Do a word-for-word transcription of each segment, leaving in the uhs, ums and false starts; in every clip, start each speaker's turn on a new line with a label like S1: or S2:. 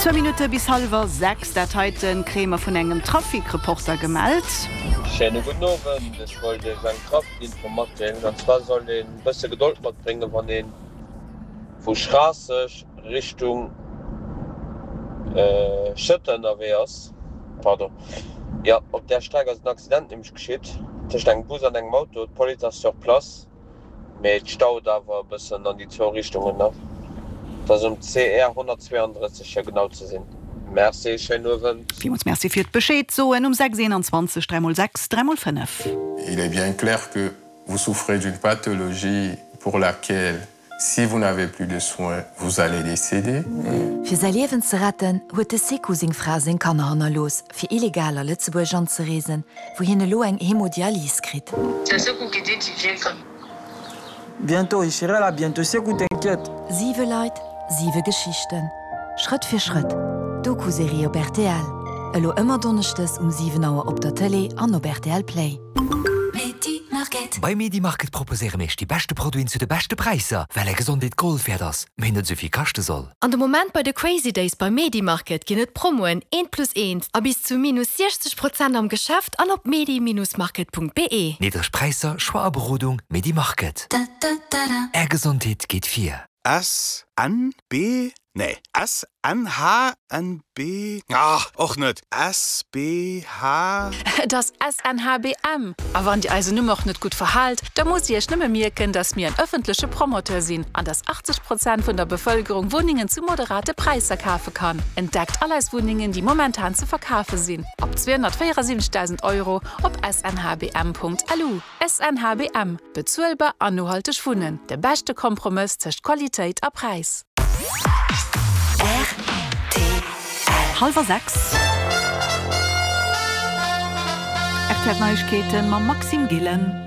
S1: Zwou Minutte bis hallwer sechs, dat heite kréie mer vun engem Trafic-Reporter gemellt.
S2: Schéine gudden Owend, ech wollt iech eng Traficinfo matdeelen. An zwar sollt een e bësse Gedold matbréngen, wann ee vu Schraasseg Richtung Schëtter ënnerwee ass. Pardon, jo, op där Streck ass en Accident nämlech geschitt tëscht engem Bus an engem Auto. D'Police ass sur place, mee et staut awer e bëssen an déi zwou Richtungen nach. Et ass um C R honnertzweeandrësseg fir genau ze sinn. Merci, schéinen Owend.
S1: Villmools Merci fir d'Bescheed soen um sechs eenanzwanzeg dräi mol sechs dräi mol fënnef.
S3: Il est bien clair que vous souffrez d'une pathologie pour laquelle si vous n'avez plus de soins, vous allez décéder.
S4: Fir säi Liewen ze retten, huet de Sekou seng Fra a seng Kanner hannerlooss, fir illegal a Lëtzebuerg anzereesen, wou hien elo eng Hemodialys kritt.
S5: Bientôt, je serai là bientôt, Sekou, t'inquiète.
S4: Siwe Leit, siwe Geschichten. Schrëtt fir Schrëtt, Doku-Serie op R T L. Elo ëmmer donneschdes um siwen Auer op der Tëlee an op R T L Play.
S6: Bei Medimarket proposéiere mir iech déi beschte Produiten zu de beschte Präisser, well är Gesondheet Gold wäert ass, mee net esou vill kaschte soll.
S7: An de Moment bei de Crazy Days bei Medimarket ginn et Promoen eent plus eent a bis zu minus siechzeg Prozent am Geschäft an op medi-market Punkt be.
S6: Niddreg Präisser, Choix a Berodung, Medimarket. Är Gesondheet geet vir.
S8: S N B nee S N H N B ah, och net S B H.
S9: Et ass S N H B M. A wann Dir eisen Numm och net gutt verhaalt, da musst Dir Iech nëmme mierken, dass mir en ëffentleche Promoteur sinn an dass achtzeg Prozent vun der Bevëlkerung Wunnengen zu moderate Präisser kafe kann. Entdeckt all eis Wunnengen, déi momentan ze verkafe sinn. Ab zweehonnertvéierasiwwenzegdausend Euro op S N H B M Punkt L U. S N H B M. Bezuelbar an nohalteg Wunnen. De beschte Kompromëss tëscht Qualitéit a Präis.
S1: Hallwer sechs. R T L Neiegkeeten mam Maxime Gillen.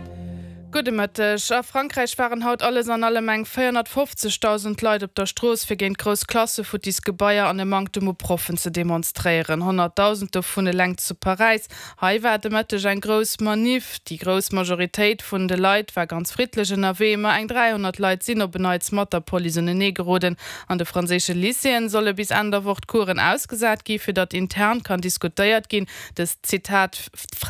S10: Gudde Mëtteg. A Frankräich waren haut alles an allem eng véierhonnertfofzegdausend Leit op der Strooss fir géint grouss Klasse, futtis Gebaier an e Manktem u Proffen ze demonstréieren. Honnertdausend dovun eleng zu Paräis. Hei war de Mëtteg eng grouss Manif. Déi grouss Majoritéit vun de Leit war ganz friddlech ënnerwee, ma eng dräihonnert Leit sinn op en Neits mat der Police unenee geroden. An de franséische Lycéeën solle bis Enn der Woch d'Coursen ausgesat gi fir datt intern kann diskutéiert ginn. Dës Zitat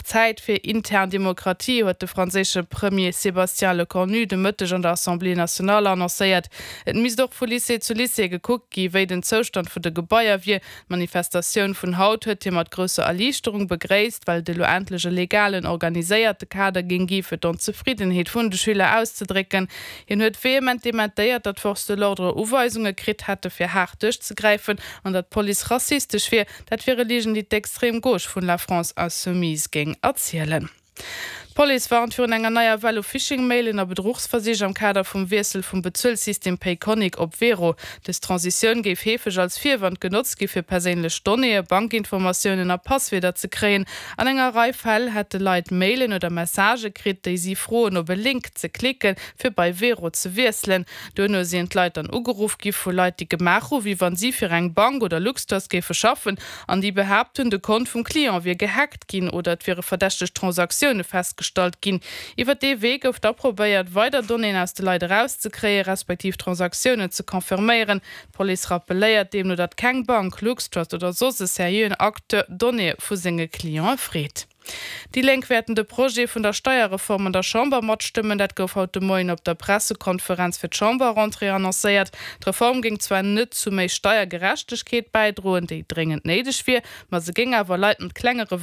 S10: Zäit fir intern Demokratie huet de franséische Premier Sébastien Lecornu de Mëtteg an der Assemblée nationale annoncéiert. Et misst och vu Lycée zu Lycée gekuckt gi wéi den Zoustand vun de Gebaier wier. D'Manifestatioun vun haut huet hie mat grousser Erliichterung begréisst, well et elo endlech e legalen organiséierte Kader géing gi fir d'Onzefriddenheet vun de Schüler auszedrécken. Hien huet vehement dementéiert, datt d'Forces de l'ordre Uweisunge kritt hätte fir haart duerchzegräifen an datt d'Police rassistesch wier. Dat wiere Ligen, déi d'extrême Gauche vun La France Insoumise géing erzielen. D'Police warnt virun enger neier Well u Phishing-Mailen a Bedruchsversich am Kader vum Wiessel vum Bezuelsystem Payconiq op Wero. Dës Transitioun géif heefeg als Virwand genotzt gi fir perséinlech Donnéeë, Bankinformatiounen a Passwierder ze kréien. An enger Rei Fäll hätte Leit Mailen oder Messagë kritt, déi si froen op e Link ze klicken, fir bei Wero ze wiesselen. Duerno sinn d'Leit dann ugeruff gi vu Leit, déi gemaach hu wéi wann si fir eng Bank oder LuxTrust géife schaffen an déi behaapt hunn, de Kont vum Client wier gehackt ginn oder et wiere verdächteg Transaktioune festgestallt ginn. Iwwer dee Wee gouf da probéiert, weider Donnéeën aus de Leit erauszekréien, respektiv Transaktiounen ze confirméieren. D'Police rappelléiert deemno, datt keng Bank, LuxTrust oder soss e seriöen Acteur Donnéeë vu senge Clientë freet. Déi Lénk wäerten de Projet vun der Steierreform an der Chamber matstëmmen. Dat gouf haut de Moien op der Pressekonferenz fir d'Chamberrentrée annoncéiert. D'Reform géing zwar net zu méi Steiergerechtegkeet bäidroen, déi dréngend néideg wier, ma se géing awer Leit mat klenge Revenuen